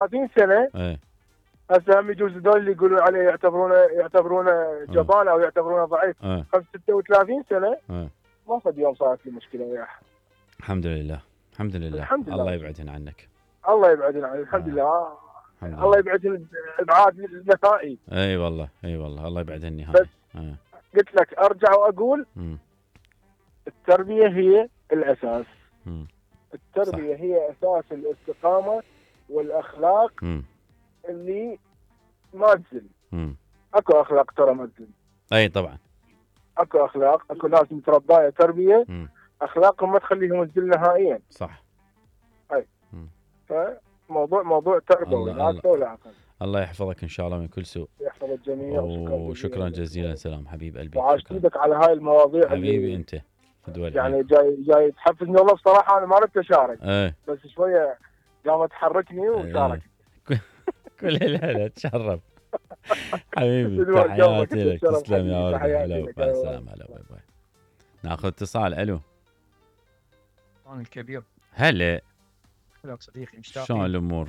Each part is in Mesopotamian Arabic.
30 سنه ايه هسه هم يجوز هذول اللي يقولون عليه يعتبرونه جبان او يعتبرونه ضعيف. 36 سنه ما فد يوم صارت لي مشكله وياه. الحمد لله الحمد لله. الحمد لله. الله يبعدهن عنك. الله يبعدهن عنك. الحمد لله. الله يبعدهن ابعاد النهائي. اي والله اي والله الله يبعدهن نهائي. بس قلت لك ارجع واقول التربيه هي الاساس. التربيه صح. هي اساس الاستقامه والاخلاق اللي ما تزل. اكو اخلاق ترى ما تزل. اي طبعا. اكو اخلاق، اكو ناس متربيه تربيه اخلاقهم ما تخليهم تزل نهائيا. صح. اي. فموضوع تربوي لا اكثر ولا اقل. الله يحفظك ان شاء الله من كل سوء. يحفظ الجميع. وشكرا جزيلا. سلام حبيب قلبي. وعاشتك على هاي المواضيع حبيبي انت يعني جاي تحفزني والله بصراحه. انا ما ردت اشارك بس شويه قامت تحركني وشاركت. كل هلا تشرف حبيبي. تحياتي لك. تسلم يا ولد. هلا مع السلامه. هلا باي باي. ناخذ اتصال. الو الكبير. هلا صديقي مشتاق. شلون الامور؟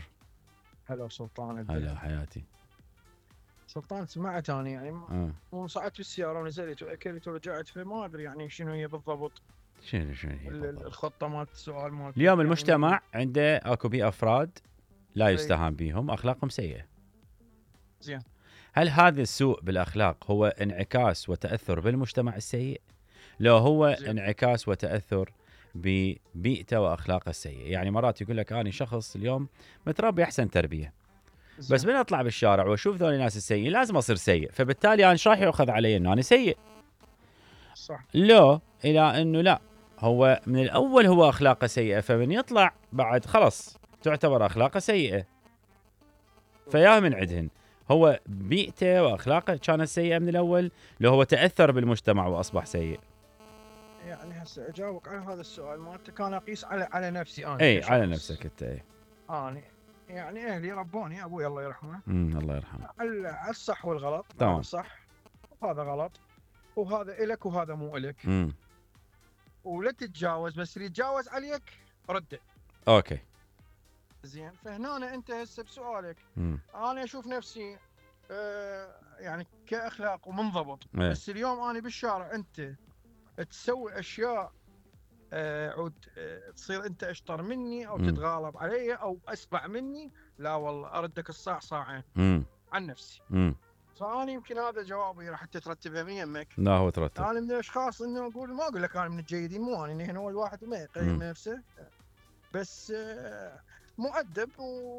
هلا سلطان. هلا حياتي سلطان. سمعت انا يعني صعدت بالسياره ونزلت واكلت ورجعت فما ادري يعني شنو هي بالضبط. شنو هي الخطه مالت السؤال مالت اليوم يعني المجتمع عنده اكو بيه افراد لا يستهان بهم، اخلاقهم سيئه. زين. هل هذا السوء بالاخلاق هو انعكاس وتاثر بالمجتمع السيء؟ لو هو زين. انعكاس وتاثر ببيئته واخلاقه السيئه. يعني مرات يقول لك انا شخص اليوم متربي احسن تربيه زين. بس من اطلع بالشارع واشوف ذول الناس السيئين لازم اصير سيء، فبالتالي انا ايش راح يؤخذ علي انه انا سيء. صح. لو الى انه لا، هو من الاول هو اخلاقه سيئه، فمن يطلع بعد خلص تعتبر اخلاقه سيئه. فيا من عندهن هو بيئته واخلاقه كانت سيئه من الاول، لو هو تاثر بالمجتمع واصبح سيء. يعني هسه اجاوبك على هذا السؤال مالتك. انا اقيس على نفسي انا. اي على نفسك انت. اي انا يعني اهلي ربوني، ابوي الله يرحمه. الله يرحمه. على الصح والغلط. تمام. صح وهذا غلط وهذا إلك وهذا مو إلك. ولا تتجاوز، بس اللي يتجاوز عليك رده. اوكي زين. فهنا انت هسه بسؤالك انا اشوف نفسي يعني كاخلاق ومنضبط. بس اليوم انا بالشارع انت تسوي اشياء عود تصير انت اشطر مني او تتغالب علي او اسبع مني، لا والله اردك الصاع صاعين عن نفسي. فأنا يمكن هذا جوابي راح ترتبها من يمك. لا هو ترتب. انا من الاشخاص انه ما اقول لك انا من الجيدين، مو انا هنا هو الواحد ما يقيم نفسه، بس مؤدب